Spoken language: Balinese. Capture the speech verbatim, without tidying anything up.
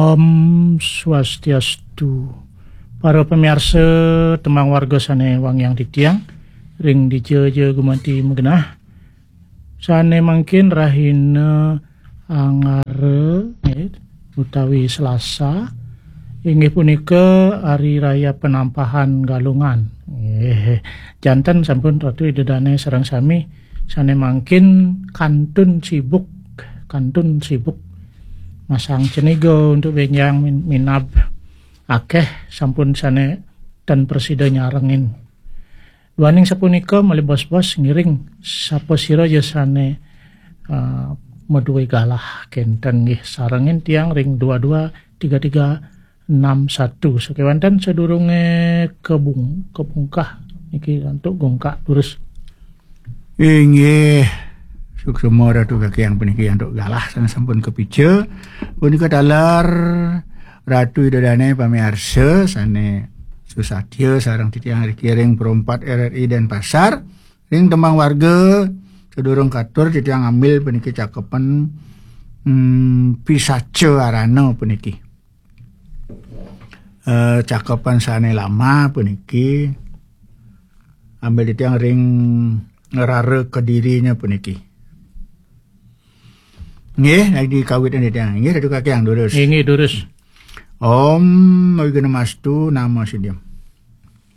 Om Swastiastu. Para pamiarsa, tembang warga sane wangiang titiang, ring dija ja gumanti magenah. Sane mangkin rahina Anggara, nggih, utawi Selasa, inggih punika Hari Raya Penampahan Galungan. Nggih, janten sampun Ratu Ida Dane sareng sami sane mangkin kantun sibuk, kantun sibuk masang ceniga untuk benjang min-, minab akeh sampun sane ten prasida nyarengin. Duaning sapunika malih bos-bos ngiring sapa sira ya sane, eh, maduwe galah kenten nggih sarengin tiang ring dua dua tiga tiga enam satu. Sakewanten sadurunge kebung-, kebungkah niki antuk gungkak durus. Inggih. Suksma Ratu Kakiang puniki antuk galah sane sampun kapica. Punika taler Ratu Ida Dane pamiarsa sane susatia sareng titiang riki ring Perumpat R R I Denpasar. Ring tembang warga, sadurung katur titiang ambil puniki cakepan, hmm, Pisaca Arana puniki. Eh, cakepan sane lama puniki ambil titiang ring Rara Kedirinya puniki. Nggih, nek dikawit titiang. Nggih, Ratu Kakiang durus. Nggih, nggih, durus. Om Awighnamastu Namo Siddham.